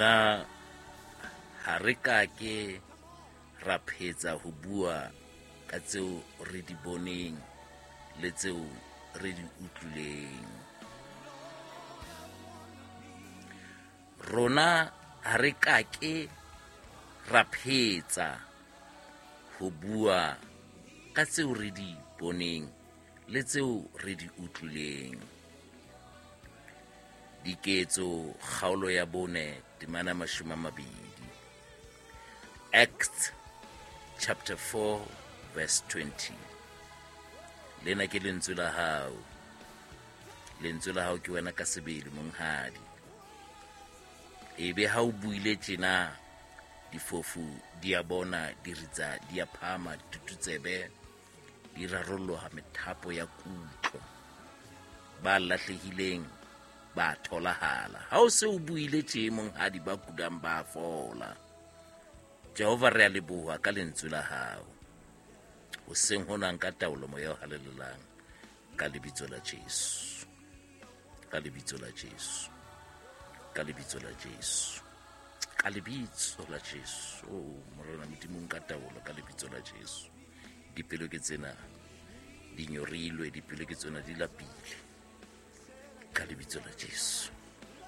Rona ha re ka ke ra phetsa ho bua ka tseo re di boneng le tseo re di utlwileng. Rona ha re ka ke ra phetsa ho bua ka tseo re di boneng le tseo re di utlwileng. Diketso kgaolo ya bone temana 20. Acts chapter 4 verse 20. Lena ke lentswe la hao. Lentswe la hao ke wena ka sebele monghadi. Ebe ha o buile tjena difofu di a bona, diritsa di a phama, ditututsebe di rarolloha methapo ya kutlo. Ba lahlehileng ba tholahala. Ha o se o buile tje monghadi ba kulang ba fola. Jehova re a leboha ka lentswe la hao. Hoseng hona nka taolo moya o halalelang ka lebitso la Jesu. Ka lebitso la Jesu. Ka lebitso la Jesu. Ka lebitso la Jesu. Oh, Morena Modimo nka taolo ka lebitso la Jesu. Dipelo ke tsena di nyorilwe, dipelo ke tsena di lapile. Ka lebitso la Jesu.